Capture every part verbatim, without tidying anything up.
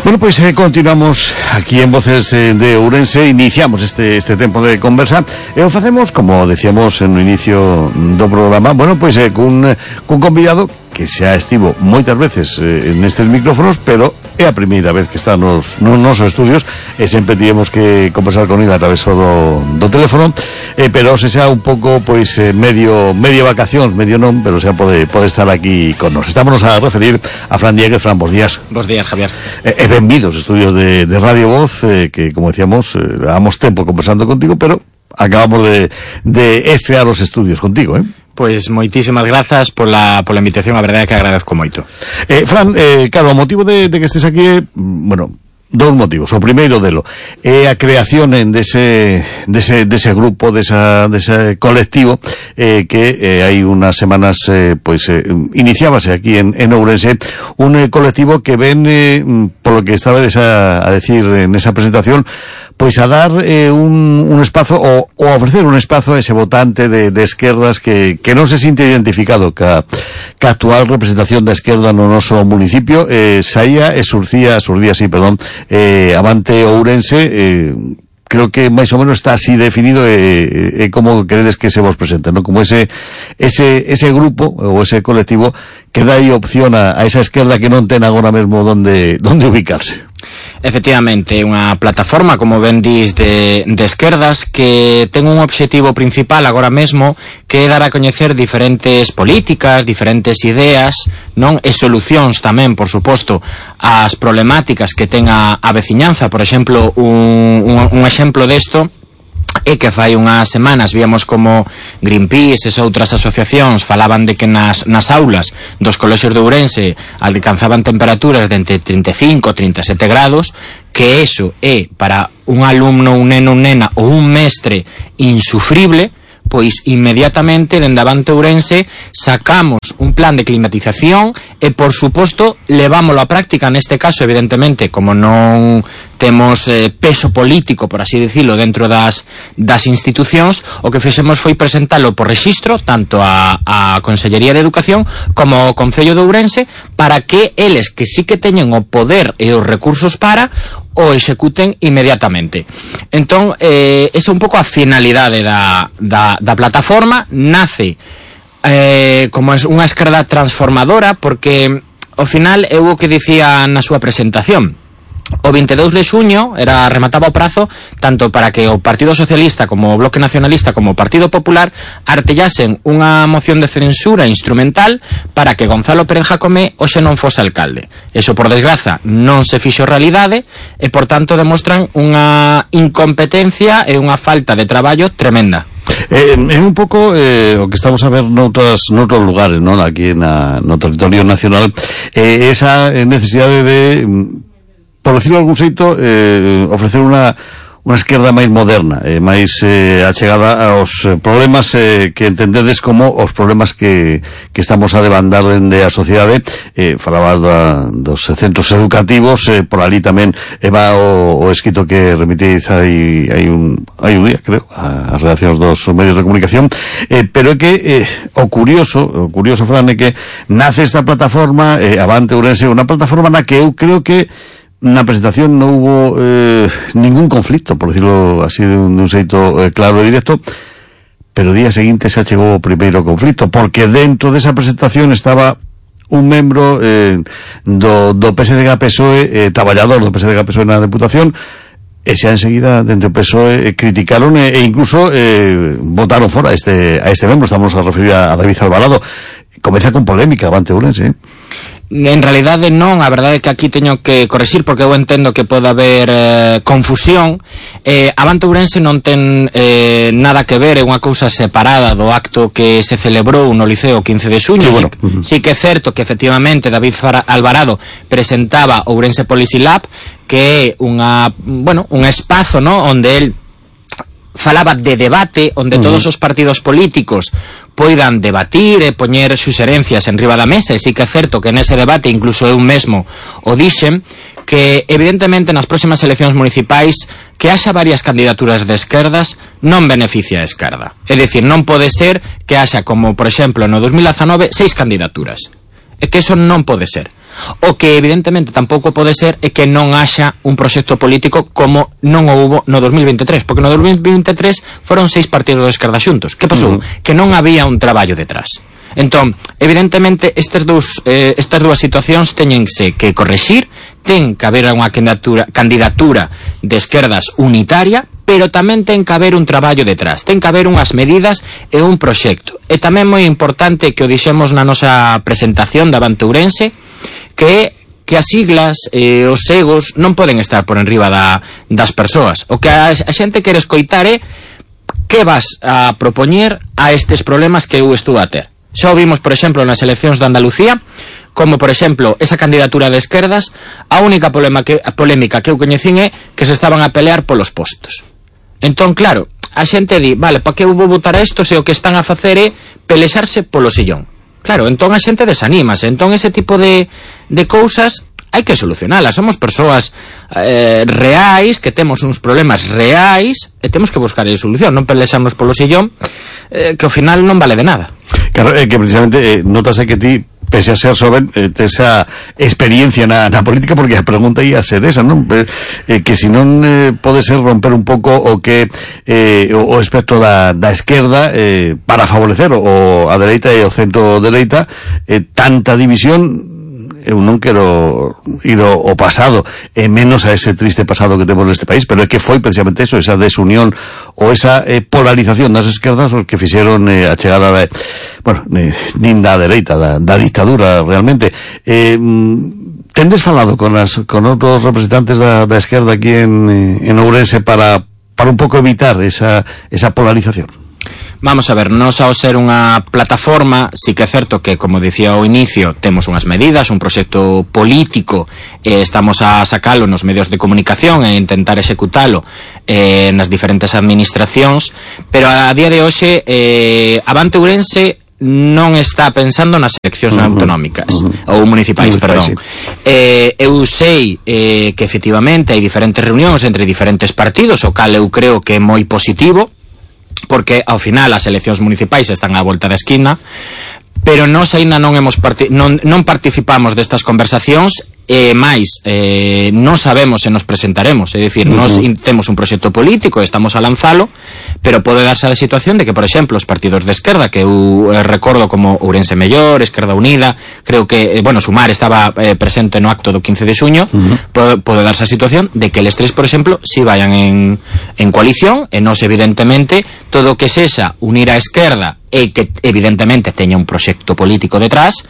Bueno, pois eh, continuamos aquí en Voces eh, de Ourense. Iniciamos este este tempo de conversa e o facemos, como decíamos no inicio do programa, bueno, pois eh, cun, cun convidado que xa estivo moitas veces eh, nestes micrófonos, pero é a primeira vez que está nos, nos nosos estudios e sempre tivemos que conversar con ele a través do, do teléfono, eh, pero se xa un pouco, pois, eh, medio medio vacacións, medio non, pero xa pode, pode estar aquí con nos. Estámonos a referir a Fran Dieguez. Fran, bons días. Bos días, Javier. E eh, benvidos aos estudios de, de Radio Voz, eh, que, como decíamos, eh, llevamos tempo conversando contigo, pero acabamos de, de estrear os estudios contigo, eh? Pois moitísimas grazas pola, pola invitación, a verdade é que agradezco moito. Eh, Fran, eh, claro, o motivo de, de que estés aquí é, bueno, dos motivos. O primeiro delo é a creación en dese, dese, dese grupo, desa, dese colectivo eh, que eh, hai unas semanas eh, pois eh, iniciábase aquí en, en Ourense, un eh, colectivo que ven, eh, por lo que estaba a, a decir en esa presentación, pois a dar eh, un, un espazo o, o a ofrecer un espazo a ese votante de, de esquerdas que, que non se sinte identificado ca, ca actual representación da esquerda no noso municipio. eh, saía e surcía, surcía así, perdón, eh, Avante Ourense. eh, creo que máis ou menos está así definido e eh, eh, como queredes que se vos presente, ¿no? Como ese ese ese grupo ou ese colectivo que dá aí opción a, a esa esquerda que non ten agora mesmo donde donde ubicarse. Efectivamente, é unha plataforma, como ben dis, de, de esquerdas que ten un obxectivo principal agora mesmo, que é dar a coñecer diferentes políticas, diferentes ideas, non? E solucións tamén, por suposto, ás problemáticas que ten a, a veciñanza. Por exemplo, un, un, un exemplo desto é que fai unhas semanas víamos como Greenpeace e outras asociacións falaban de que nas, nas aulas dos colexios de Ourense alcanzaban temperaturas de entre trinta e cinco e trinta e sete grados, que eso é para un alumno, un neno, un nena ou un mestre insufrible. Pois inmediatamente dende Avante Ourense sacamos un plan de climatización e, por suposto, levámoslo á práctica. Neste caso, evidentemente, como non temos eh, peso político, por así decirlo, dentro das, das institucións, o que fixemos foi presentalo por rexistro, tanto a, a Consellería de Educación como ao Concello de Ourense, para que eles, que sí que teñen o poder e os recursos para, o executen inmediatamente. Entón, eh, esa é un pouco a finalidade da, da, da plataforma. Nace eh, como unha esquerda transformadora, porque ao final é o que dicía na súa presentación. O vinte e dous de xuño era remataba o prazo tanto para que o Partido Socialista como o Bloque Nacionalista como o Partido Popular artellasen unha moción de censura instrumental para que Gonzalo Pérez Jacome hoxe non fose alcalde. Eso, por desgraza, non se fixo realidade e, por tanto, demostran unha incompetencia e unha falta de traballo tremenda. É eh, un pouco eh, o que estamos a ver noutras, noutros lugares, non? Aquí na, no territorio nacional, eh, esa necesidade de, por decirlo de algún xeito, eh, ofrecer unha unha esquerda máis moderna, eh, máis eh, achegada aos problemas eh, que entendedes como os problemas que, que estamos a debandar dende a sociedade. Eh, falabas da, dos centros educativos, eh, por ali tamén eh, va o, o escrito que remitides hai, hai, un, hai un día, creo, as redaccións dos medios de comunicación, eh, pero é que eh, o curioso, o curioso, Fran, é que nace esta plataforma, eh, Avante Ourense, unha plataforma na que eu creo que na presentación non hubo eh, ningún conflicto, por decirlo así de un, de un xeito eh, claro e directo, pero o día seguinte xa chegou o primeiro conflicto, porque dentro desa presentación estaba un membro eh, do, do P S D G P S O E, eh, traballador do P S D G P S O E na Deputación, e xa enseguida dentro do P S O E eh, criticaron e, e incluso eh, votaron fora a este, a este membro. Estamos a referir a, a David Alvarado. Comeza con polémica Avante Ourense, eh? En realidade non, a verdade é que aquí teño que correxir porque eu entendo que pode haber eh, confusión. eh, Avante Ourense non ten eh, nada que ver, é unha cousa separada do acto que se celebrou no Liceo quince de xuño. Sí, bueno. sí, sí que é certo que efectivamente David Alvarado presentaba Ourense Policy Lab, que é unha, bueno, un espazo, ¿no?, onde el falaba de debate, onde uh-huh. todos os partidos políticos poidan debatir e poñer suxerencias en riba da mesa. E sí que é certo que nese debate incluso eu mesmo o dixen, que evidentemente nas próximas eleccións municipais que haxa varias candidaturas de esquerdas non beneficia a esquerda. É dicir, non pode ser que haxa, como por exemplo no dos mil dezanove, seis candidaturas. É que eso non pode ser. O que evidentemente tampouco pode ser é que non haxa un proxecto político como non o hubo no dos mil veintitrés, porque no dos mil veintitrés foron seis partidos de esquerda xuntos. Que pasou? Uh-huh. Que non había un traballo detrás. Entón, evidentemente, estes dous, eh, estas dúas situacións teñense que correxir, ten que haber unha candidatura, candidatura de esquerdas unitaria, pero tamén ten que haber un traballo detrás, ten que haber unhas medidas e un proxecto. E tamén moi importante que o dixemos na nosa presentación da Avante Ourense, que é que as siglas e eh, os egos non poden estar por enriba da, das persoas. O que a, a xente quere escoitar é que vas a propoñer a estes problemas que eu estou a ter. Xa o vimos, por exemplo, nas eleccións de Andalucía, como, por exemplo, esa candidatura de esquerdas, a única problema que, a polémica que eu coñecín é que se estaban a pelear polos postos. Entón, claro, a xente di, vale, pa que eu vou votar a isto se o que están a facer é pelexarse polo sillón? Claro, entón a xente desanímase. Entón ese tipo de, de cousas hai que solucionalas. Somos persoas eh, reais, que temos uns problemas reais e temos que buscar a solución, non pelexarnos polo sillón, eh, que ao final non vale de nada. Claro, eh, que precisamente eh, notase que ti, pese a ser joven, eh, esa experiencia na, na política, porque a pregunta ia a ser esa, non? Eh, que si non eh, pode ser romper un pouco o que eh, o, o espectro da, da esquerda eh, para favorecer o a dereita e o centro dereita, eh, tanta división. Eu non quero ir ao, ao pasado, e menos a ese triste pasado que temos neste país, pero é que foi precisamente eso, esa desunión ou esa eh, polarización das esquerdas os que fixeron eh, a chegada da, bueno, eh, nin da dereita, da, da dictadura realmente. Eh, tendes falado con as con outros representantes da, da esquerda aquí en, en Ourense para, para un pouco evitar esa, esa polarización? Vamos a ver, nos ao ser unha plataforma, sí que é certo que, como dicía ao inicio, temos unhas medidas, un proxecto político, e estamos a sacalo nos medios de comunicación e intentar executalo eh, nas diferentes administracións, pero a día de hoxe eh, Avante Ourense non está pensando nas eleccións uh-huh, autonómicas uh-huh. ou municipais, perdón. Sí. Eh, eu sei eh, que efectivamente hai diferentes reunións entre diferentes partidos, o cal eu creo que é moi positivo, porque ao final as eleccións municipais están á volta da esquina, pero nós aínda non hemos parti- non, non participamos destas conversacións, e máis, eh, non sabemos se nos presentaremos, é dicir, uh-huh. nós in- temos un proxecto político e estamos a lanzalo, pero pode darse a situación de que, por exemplo, os partidos de esquerda, que eu eh, recordo como Ourense Mellor, Esquerda Unida, creo que, eh, bueno, Sumar estaba eh, presente no acto do quince de xuño, uh-huh. pode, pode darse a situación de que eles tres, por exemplo, si vayan en, en coalición, e nós, evidentemente, todo o que sexa unir a esquerda e que, evidentemente, teña un proxecto político detrás,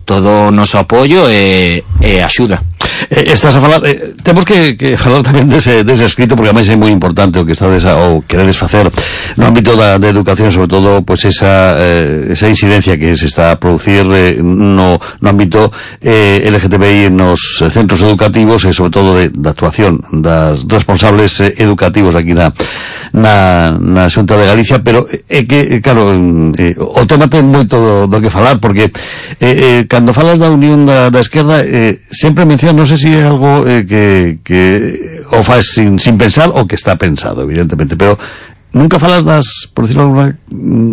todo o noso apoio e, e axuda. Eh, estás a falar, eh, temos que, que falar tamén dese, dese escrito, porque ademais é moi importante o que estades a, ou queredes facer no ámbito da, da educación, sobre todo pois esa, eh, esa incidencia que se está a producir eh, no, no ámbito eh, L G T B I nos centros educativos e sobre todo de, da actuación das responsables eh, educativos aquí na, na, na Xunta de Galicia, pero é eh, que, claro, eh, o tema ten moito do, do que falar, porque eh, eh, cando falas da unión da, da esquerda eh, sempre mencionas, non sei se é algo eh, que, que o faz sin, sin pensar ou que está pensado, evidentemente, pero nunca falas das, por decirlo alguna,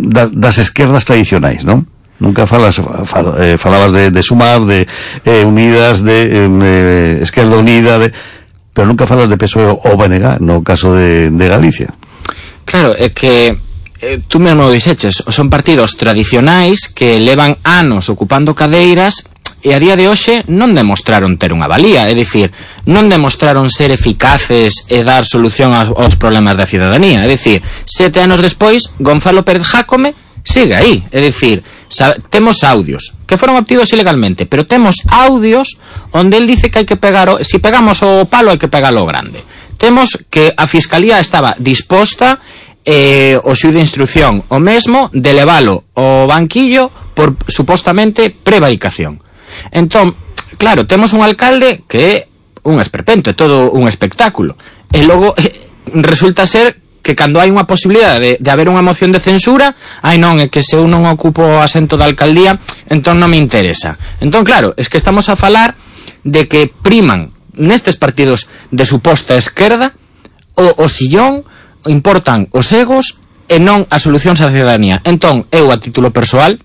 das, das esquerdas tradicionais, non? Nunca falas, fal, eh, falabas de, de Sumar, de eh, Unidas, de eh, Esquerda Unida, de, pero nunca falas de P S O E ou B N G, no caso de, de Galicia. Claro, é que eh, tú mesmo dixeches, son partidos tradicionais que levan anos ocupando cadeiras e a día de hoxe non demostraron ter unha valía, é dicir, non demostraron ser eficaces e dar solución aos problemas da cidadanía, é dicir, sete anos despois, Gonzalo Pérez Jácome sigue aí, é dicir, temos audios que foron obtidos ilegalmente, pero temos audios onde el dice que hai que pegar, o, si pegamos o palo hai que pegarlo grande. Temos que a Fiscalía estaba disposta eh, o xuíz de instrucción o mesmo de levalo ao banquillo por supostamente prevaricación. Entón, claro, temos un alcalde que é un esperpento, é todo un espectáculo, e logo eh, resulta ser que cando hai unha posibilidade de, de haber unha moción de censura, ai non, é que se eu non ocupo o asento da alcaldía, entón non me interesa. Entón, claro, es que estamos a falar de que priman nestes partidos de suposta esquerda o, o sillón, importan os egos e non a solucións á cidadanía. Entón, eu a título persoal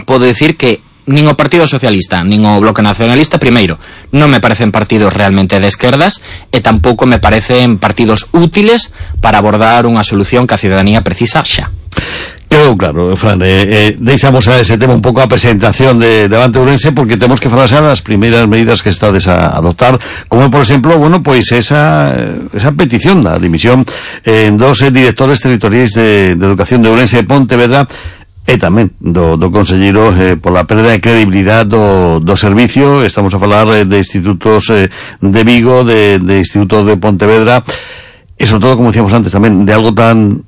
podo dicir que nin o Partido Socialista nin o Bloque Nacionalista, primeiro, non me parecen partidos realmente de esquerdas e tampouco me parecen partidos útiles para abordar unha solución que a cidadanía precisa xa. Quedou claro, Fran, eh, eh, deixamos a ese tema un pouco a presentación de, de Avante Ourense, porque temos que falar xa das primeiras medidas que estades a adoptar, como por exemplo, bueno, pois esa esa petición da dimisión eh, en dos eh, directores territoriais de, de Educación de Ourense e Pontevedra, e tamén do, do conselleiro eh, pola perda de credibilidade do, do servicio. Estamos a falar eh, de institutos eh, de Vigo, de, de institutos de Pontevedra, e sobre todo, como decíamos antes tamén, de algo tan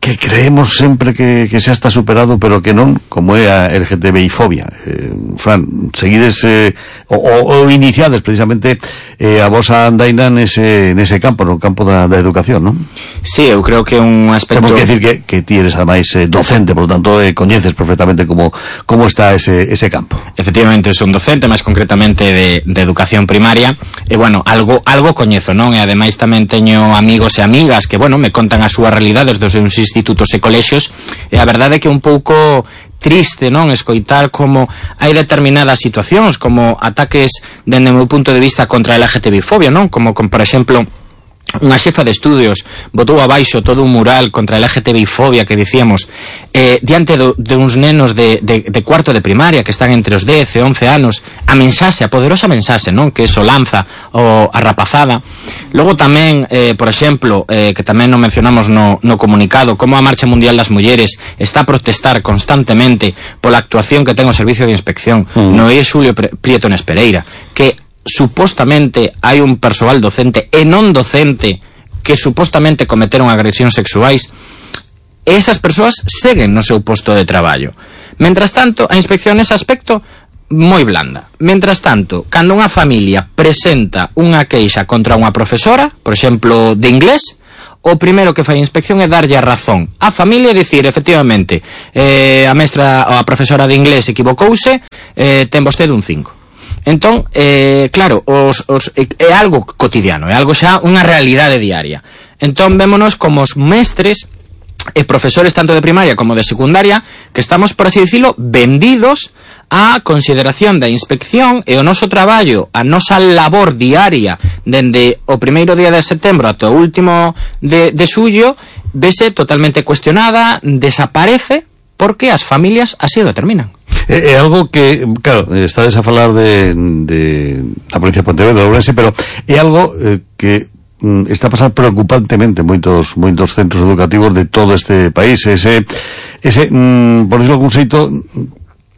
que creemos sempre que, que xa está superado, pero que non, como é a L G T B I fobia. Eh, Fran, seguides eh, o, o, o iniciades precisamente eh, a vosa andaina nese, nese campo, no campo da, da educación, non? Sí, eu creo que un aspecto... Temos que decir que, que ti eres ademais eh, docente, por lo tanto eh, coñeces perfectamente como, como está ese, ese campo. Efectivamente, son docente, máis concretamente de, de educación primaria, e bueno, algo algo coñezo, non? E ademais tamén teño amigos e amigas que, bueno, me contan as súas realidades dos seus institutos e colexios, e a verdade é que é un pouco triste, non, escoitar como hai determinadas situacións, como ataques dende o meu punto de vista contra a L G T B I fobia, non? Como, como por exemplo, unha xefa de estudios botou abaixo todo un mural contra a L G T B I fobia que dicíamos eh, diante do, de uns nenos de, de, de cuarto de primaria que están entre os dez e once anos, a mensaxe, a poderosa mensaxe, non, que eso lanza o a rapazada. Logo tamén, eh, por exemplo, eh, que tamén non mencionamos no, no comunicado, como a Marcha Mundial das Mulleres está a protestar constantemente pola actuación que ten o Servicio de Inspección mm. no I E Xulio Prieto Nespereira, que supostamente hai un persoal docente e non docente que supostamente cometeron agresións sexuais, e esas persoas seguen no seu posto de traballo. Mentras tanto, a inspección nese aspecto moi blanda. Mentras tanto, cando unha familia presenta unha queixa contra unha profesora, por exemplo, de inglés, o primeiro que fai a inspección é darlle a razón á familia e dicir, efectivamente, eh, a mestra ou a profesora de inglés equivocouse, eh, ten vostede un cinco. Entón, eh, claro, os, os, é algo cotidiano, é algo xa unha realidade diaria. Entón, vémonos como os mestres e profesores tanto de primaria como de secundaria que estamos, por así dicilo, vendidos á consideración da inspección, e o noso traballo, a nosa labor diaria dende o primeiro día de setembro ata o último de, de xullo vese totalmente cuestionada, desaparece, porque as familias así o determinan. É, é algo que, claro, estades a falar de, de a provincia de Pontevedra, de Ourense, pero é algo eh, que mm, está a pasar preocupantemente en moitos moitos centros educativos de todo este país. Ese, ese mm, por decirlo algún xeito,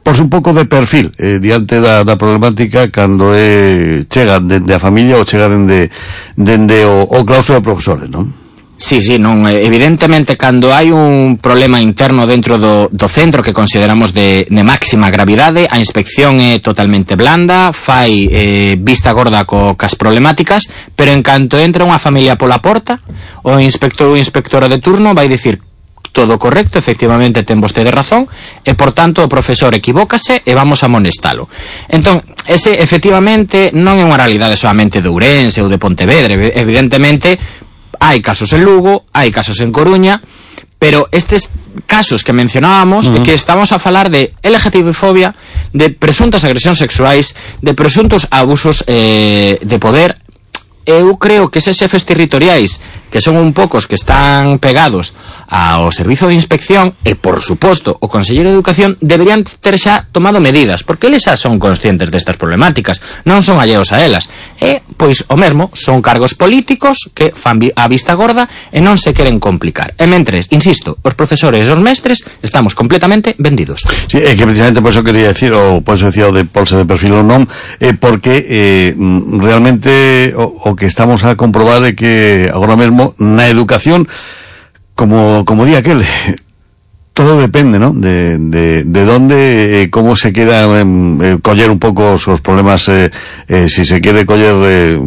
porse un pouco de perfil eh, diante da, da problemática cando é, chega dende a familia ou chega dende, dende o, o claustro de profesores, non? Sí, sí, non, evidentemente cando hai un problema interno dentro do, do centro que consideramos de, de máxima gravidade, a inspección é totalmente blanda, fai eh, vista gorda co, cas problemáticas, pero en canto entra unha familia pola porta, o inspector ou inspectora de turno vai dicir todo correcto, efectivamente ten vostede razón, e por tanto o profesor equivócase e vamos a amonestalo. Entón, ese efectivamente non é unha realidade solamente de Ourense ou de Pontevedra, evidentemente hai casos en Lugo, hai casos en Coruña, pero estes casos que mencionábamos, uh-huh. que estamos a falar de L G T B I fobia, de presuntas agresións sexuais, de presuntos abusos eh, de poder. Eu creo que eses xefes territoriais, que son un poucos que están pegados ao servizo de inspección, e por suposto o conselleiro de Educación, deberían ter xa tomado medidas, porque eles xa son conscientes destas problemáticas, non son alleos a elas, e pois o mesmo son cargos políticos que fan a vista gorda e non se queren complicar. E mentres, insisto, os profesores e os mestres estamos completamente vendidos. Sí, é que precisamente por eso quería decir, ou por eso decía o de polse de perfil ou non, eh, porque eh, realmente o, o que estamos a comprobar é que agora mesmo na educación, como como di aquel, todo depende, ¿no? De, de, de dónde, eh, cómo se quiera eh, coller un pouco os, os problemas, eh, eh, si se quiere coller eh,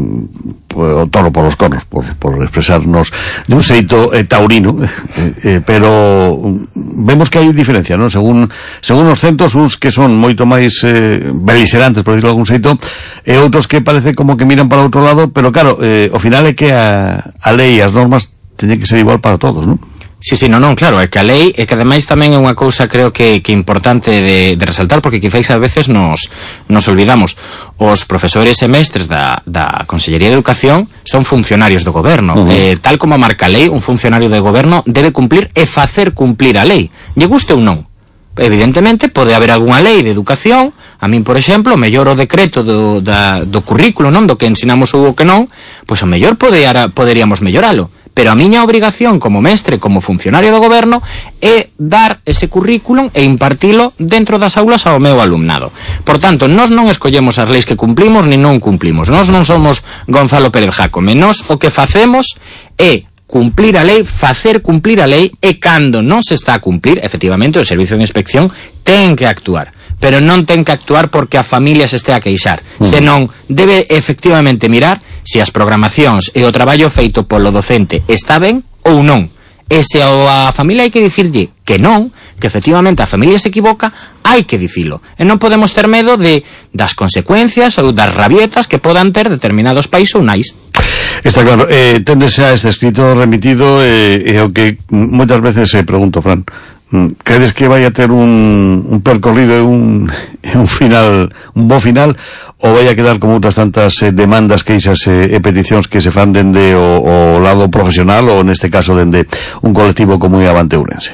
pues, o toro por los cornos, por, por expresarnos de un xeito eh, taurino, eh, eh, pero vemos que hai diferencia, ¿no? Según según os centros, uns que son moito máis eh, beligerantes, por decirlo de algún xeito, e outros que parece como que miran para outro lado, pero claro, eh, ao final é que a, a lei e as normas teñen que ser igual para todos, ¿no? Sí, sí, non, non, claro, é que a lei é que ademais tamén é unha cousa creo que, que importante de, de resaltar, porque quizáis a veces nos, nos olvidamos. Os profesores e mestres da, da Consellería de Educación son funcionarios do goberno. Uh-huh. eh, tal como marca a lei, un funcionario de goberno debe cumplir e facer cumplir a lei, lle guste ou non. Evidentemente pode haber algunha lei de educación, a min por exemplo mellor o decreto do, da, do currículo, non, do que ensinamos ou o que non, pois o mellor pode, poderíamos melloralo. Pero a miña obrigación como mestre, como funcionario do goberno, é dar ese currículum e impartilo dentro das aulas ao meu alumnado. Por tanto, nós non escollemos as leis que cumplimos ni non cumplimos. Nós non somos Gonzalo Pérez Jácome. Nós o que facemos é cumplir a lei, facer cumplir a lei, e cando non se está a cumplir, efectivamente, o Servicio de Inspección ten que actuar. Pero non ten que actuar porque a familia se este a queixar, uh-huh. senón debe efectivamente mirar se as programacións e o traballo feito polo docente está ben ou non. E se a familia hai que dicirlle que non, que efectivamente a familia se equivoca, hai que dicilo. E non podemos ter medo de das consecuencias ou das rabietas que podan ter determinados pais ou nais. Está claro, eh, téndese a este escrito remitido e eh, eh, o que moitas veces se eh, pregunto, Fran, credes que vai a ter un, un percorrido e un, un final, un bo final, ou vai a quedar como outras tantas eh, demandas, queixas eh, e peticións que se fan dende o, o lado profesional ou neste caso dende un colectivo como é Avante Ourense?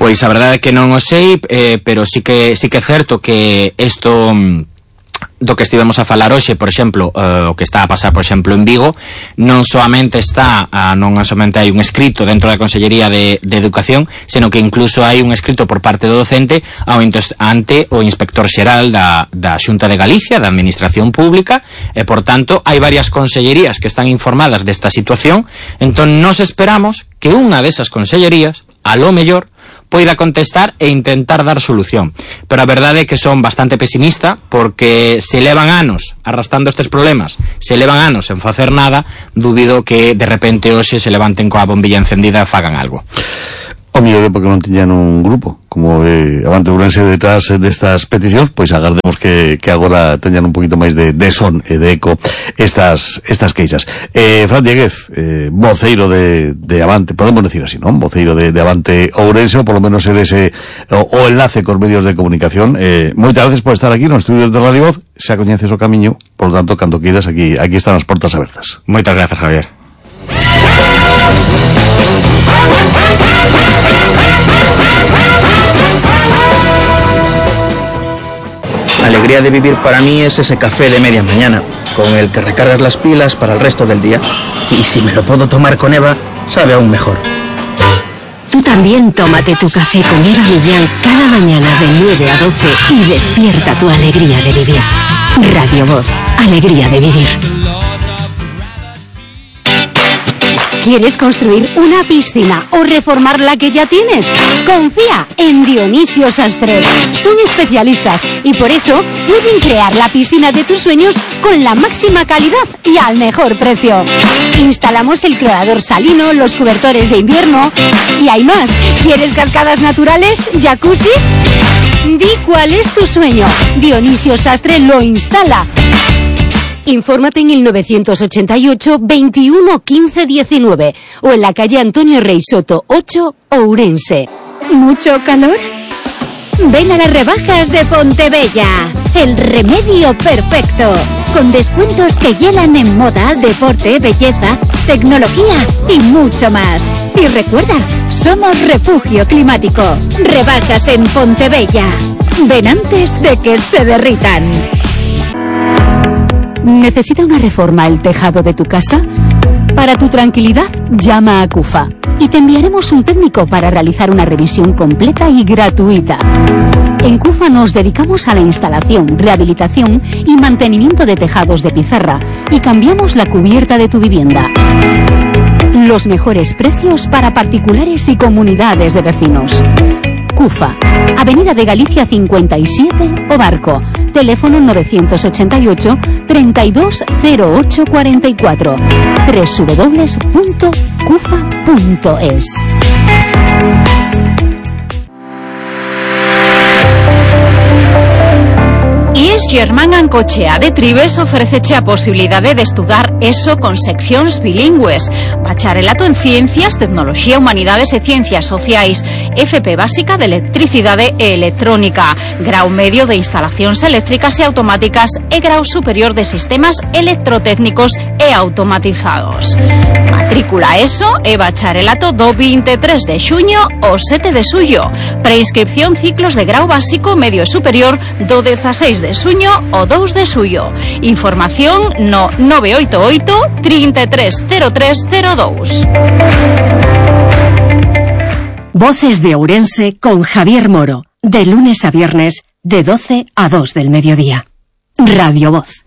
Pois a verdade é que non o sei, eh, pero sí que sí que é certo que isto do que estivemos a falar hoxe, por exemplo, uh, o que está a pasar, por exemplo, en Vigo, non soamente está, uh, non somente hai un escrito dentro da Consellería de, de Educación, senón que incluso hai un escrito por parte do docente ao ante o Inspector Xeral da, da Xunta de Galicia, da Administración Pública, e, por tanto, hai varias consellerías que están informadas desta situación. Entón, nos esperamos que unha desas consellerías, a lo mellor, poida contestar e intentar dar solución. Pero a verdade é que son bastante pesimista, porque se levan anos arrastrando estes problemas, se levan anos en facer nada, dubido que de repente hoxe se levanten coa bombilla encendida e fagan algo. O mellor é porque non tiñan un grupo como eh, Avante Ourense detrás destas peticións, pois agardemos que, que agora teñan un poquito máis de, de son e de eco estas estas queixas. Eh, Fran Dieguez, eh, voceiro de, de Avante, podemos decir así, non? Voceiro de, de Avante Ourense, ou polo menos ser ese o, o enlace cos medios de comunicación. Eh, moitas gracias por estar aquí nos estudios de Radio Voz, xa coñeces o camiño, por lo tanto, cando queiras, aquí, aquí están as portas abertas. Moitas gracias, Javier. Alegría de vivir para mí es ese café de media mañana, con el que recargas las pilas para el resto del día. Y si me lo puedo tomar con Eva, sabe aún mejor. Tú también tómate tu café con Eva Millán cada mañana de nueve a doce y despierta tu alegría de vivir. Radio Voz, alegría de vivir. ¿Quieres construir una piscina o reformar la que ya tienes? Confía en Dionisio Sastre. Son especialistas y por eso pueden crear la piscina de tus sueños con la máxima calidad y al mejor precio. Instalamos el clorador salino, los cobertores de invierno y hay más. ¿Quieres cascadas naturales? ¿Jacuzzi? Di cuál es tu sueño. Dionisio Sastre lo instala. Infórmate en el novecientos ochenta y ocho, veintiuno, quince, diecinueve o en la calle Antonio Rey Soto ocho, Ourense. ¿Mucho calor? Ven a las rebajas de Pontebella, el remedio perfecto, con descuentos que hielan en moda, deporte, belleza, tecnología y mucho más. Y recuerda, somos refugio climático. Rebajas en Pontebella. Ven antes de que se derritan. ¿Necesita una reforma el tejado de tu casa? Para tu tranquilidad, llama a CUFA y te enviaremos un técnico para realizar una revisión completa y gratuita. En CUFA nos dedicamos a la instalación, rehabilitación y mantenimiento de tejados de pizarra y cambiamos la cubierta de tu vivienda. Los mejores precios para particulares y comunidades de vecinos. CUFA, Avenida de Galicia cincuenta y siete, Obarco. Teléfono novecientos ochenta y ocho, treinta y dos, cero ocho cuarenta y cuatro. doble u doble u doble u punto cufa punto es. Y Luís Germán Ancochea de Tribes ofréceche a posibilidade de estudar ESO con seccións bilingües, bacharelato en Ciencias, Tecnoloxía, Humanidades e Ciencias Sociais, F P básica de Electricidade e Electrónica, grau medio de Instalacións Eléctricas e Automáticas e grau superior de Sistemas Electrotécnicos e Automatizados. Matrícula ESO e bacharelato do vinte e tres de xuño ao sete de xullo. Preinscripción ciclos de grau básico, medio e superior do dezaseis de xuño ao dous de xullo. Información no nove oito oito, trinta e tres, cero tres cero dous. Voces de Ourense con Javier Moro, de lunes a viernes, de doce a dos del mediodía. Radio Voz.